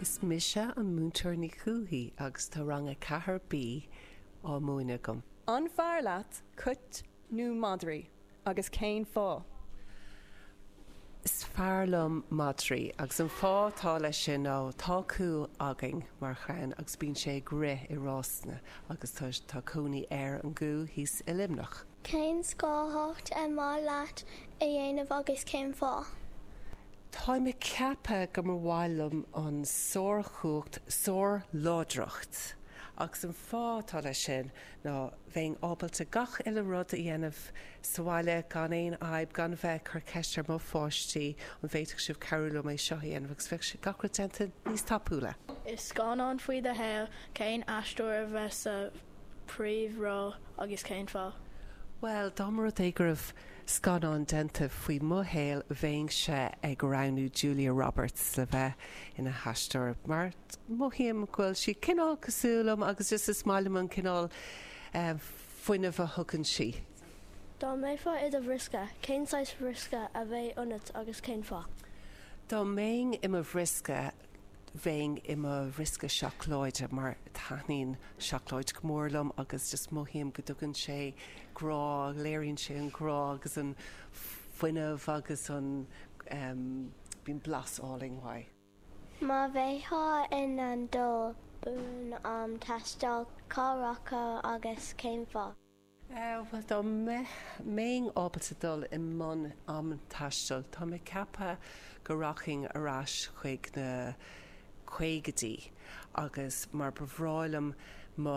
Is mise an Múinteoir Ní Chúthaigh agus tá Rang 4B á múineadh agam. An fearr leat cait nó madraí agus cén fáth? Is fearr liom madraí agus an fáth atá leis sin ná tá cú againn mar chlann agus bíonn sé ag rith i rásanna agus tá tá cónaí ar an gcú thíos i Luimneach. Cén scothchumhacht ar mhaith leat a dhéanamh agus cén fáth? Táim ag ceapadh go mba mhaith liom an sárchumhacht sárláidreacht agus an fáth atá leis sin ná bheinn ábalta gach uile rud a dhéanamh sa bhaile gan aon fhadhb, gan bheith ag cur ceist ar mo pháistí an bhféadfadh sibh cabhrú liom é seo a dhéanamh agus bheadh sé gach rud déanta níos tapúla. I scannán faoi do shaol, cén aisteoir a bheadh sa phríomhról agus cén fáth? Bhuel, dá mba rud é go raibh scannán déanta faoi mo shaol, bheinnse ag roghnú Julia Roberts le bheith ina haisteoir mar mothaím go bhfuil sí cineál cosúil liom agus just is maith liom an cineál fuinnimh a thugann sí. Dá mbeifeá i do bhriosca, cén saghas briosca a bheadh ionat agus cén fáth? Dá mbeinn i mo bhriosca, bheinn i mo bhriosca seacláide mar taitníonn seacláid go mór liom agus just mothaím go dtugann sé grá, léiríonn sé an grá agus an fuinneamh agus an, bíonn blas álainn uaidh. Má bheifeá in ann dul i mbun am taistil, cá rachfá agus cén fáth? Bhuel, dá mbeinn ábalta dul i mbun am taistil, tá mé ag ceapadh go rachainn ar ais chuig na caogaidí agus mar ba bhreá liom mo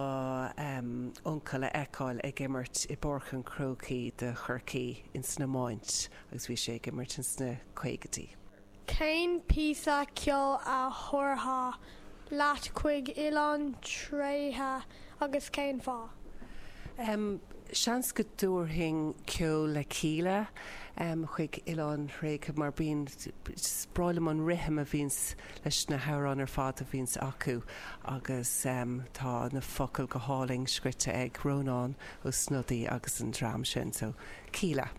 uncail a fheiceáil ag imirt i bPáirc an Chrócaigh do Chorcaí ins an iomáint agus bhí sé ag imirt ins na caogaidí. Cén píosa ceoil a thabharfá leat chuig oileán tréigthe agus cén fáth? Seans go dtabharfainn ceol le Kíla chuig oileán thréigthe mar bíonn, is breá liom an rithim a bhíonns leis na hamhráin ar fad a bhíonns acu agus tá na focail go hálainn scrite ag Rónán Ó Snodaigh agus an dream sin, so Kíla.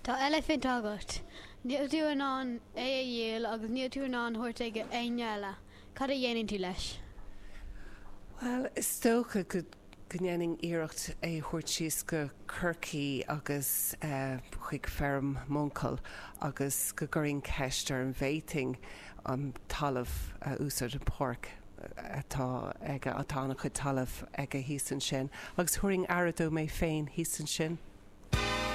Tá eilifint agat. Níl tú in ann é a dhíol agus níl tú in ann thabhairt ag éinne eile. Cad a dhéanann tú leis? Bhuel, is dócha go ndéanfainn iarracht é a thabhairt síos go Corcaigh agus chuig feirm m'uncail agus go gcuirfinn ceist air an bhféadfainn an talamh a úsáid, an páirc atá aige, tá an-chuid talaimh aige thíos ansin, agus thabharfainn aire dó mé féin thíos ansin.